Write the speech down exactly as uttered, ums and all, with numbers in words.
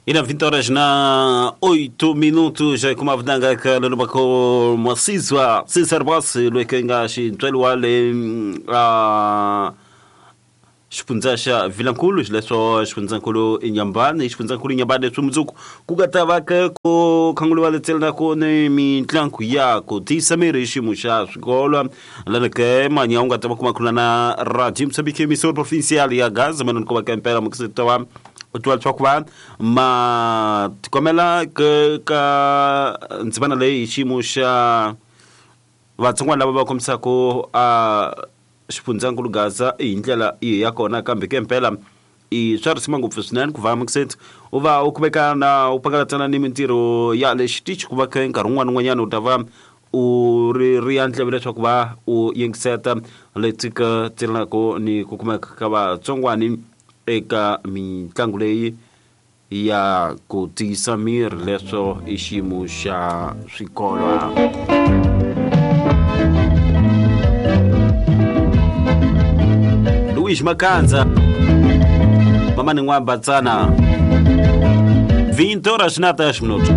Ina vinte horas na oito minutos kuma vudanga ka lobako masizwa Cesar Boss lwekenga xintwelo wa le a xifundza xa Vilankulu xileswo xifundzankulu Inhambane xifundzankulu Inhambane leswi mundzuku ku nga ta va ka ku khanguliwa letselana ku ni mitlangu ya ku tiyisa miri hi xiyimo xa swikolo lani ke manya u nga ta va kuma khulana na Radio Moçambique emissora provincial ya Gaza manani ku va ka impela mukiseta wa u twa leswaku va ma tikhomela ke ka ndzimana leyi hi xiyimo xa vatsongwana lava va kombisaka a xifundzankulu Gaza hi ndlela yi ya kona kambe ke mpela i swa risima ngopfu swinene ku va mukiseti u va u kumeka na u pakalatana ni mintirho ya le xitichi ku va ke nkarhi wun'wana wun'wanyana u ta va u ri ri ya ndleve leswaku va u yingiseta leti ka tirhelaka ni ku kumeka ka vatsongwani eka mitlangu leyi ya ku tiyisa miri leswo i xiyimo xa swikolo. Luis Makanza Mamani N'wa Batsana vinte horas na dez minutos.